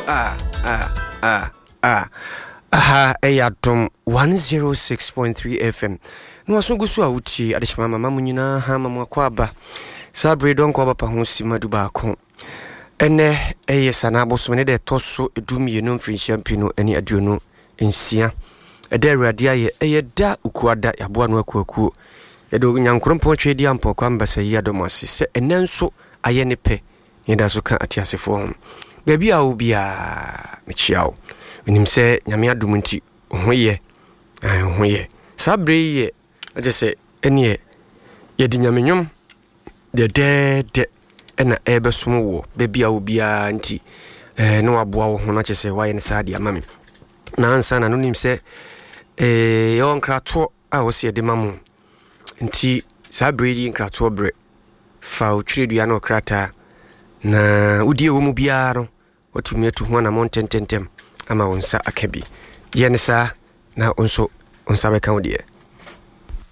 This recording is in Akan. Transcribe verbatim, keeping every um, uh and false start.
Ah, ah, ah, ah. Aha ɛyɛ Adom one oh six point three F M na waso gu so a wotie adehyema mama mu nyinaa ha ma mo akɔ aba. Saa bere dɔnkɔ aba pa ho si ma du baako. Ɛnɛ ɛyɛ sana abosom ne deɛ ɛtɔ so edu mmienu mfirinhyia mpinu ne aduonu nsia. Ɛda Awurade ayɛ, ɛyɛ da Ukuada, yɛaboa no akuakuo. Yɛde Onyankorompɔn twɛ di ampɔkɔ ambasa yi adɔm ase sɛ ɛnɛ nso ayɛ ne pɛ yɛda so ka ateasefoɔ ho. Baabi a wo biaa, mekyia wo. Menim sɛ Nyame adom nti wo ho yɛ, wo ho yɛ. Saa berɛ yi yɛ agye sɛ ɛneɛ yɛde Nyame nnwom dɛdɛɛdɛ ɛna ɛbɛsom wɔ baabi a wo biara, nti ɛɛ na waboa wo ho no akyɛ sɛ woayɛ no saa de ama me. Na ansa na no nim sɛ ɛɛ yɛwɔ nkratoɔ a wɔsi yɛde ma mo, nti saa berɛ yi nkratoɔ berɛ, fa wo twerɛdua ne ɔkrataa na wodie wɔ mu biara no, watumi atu ho anammɔ ntɛntɛntɛm ama wo nsa aka bi. Yɛ ne saa na wo nso wo nsa bɛka wo deɛ.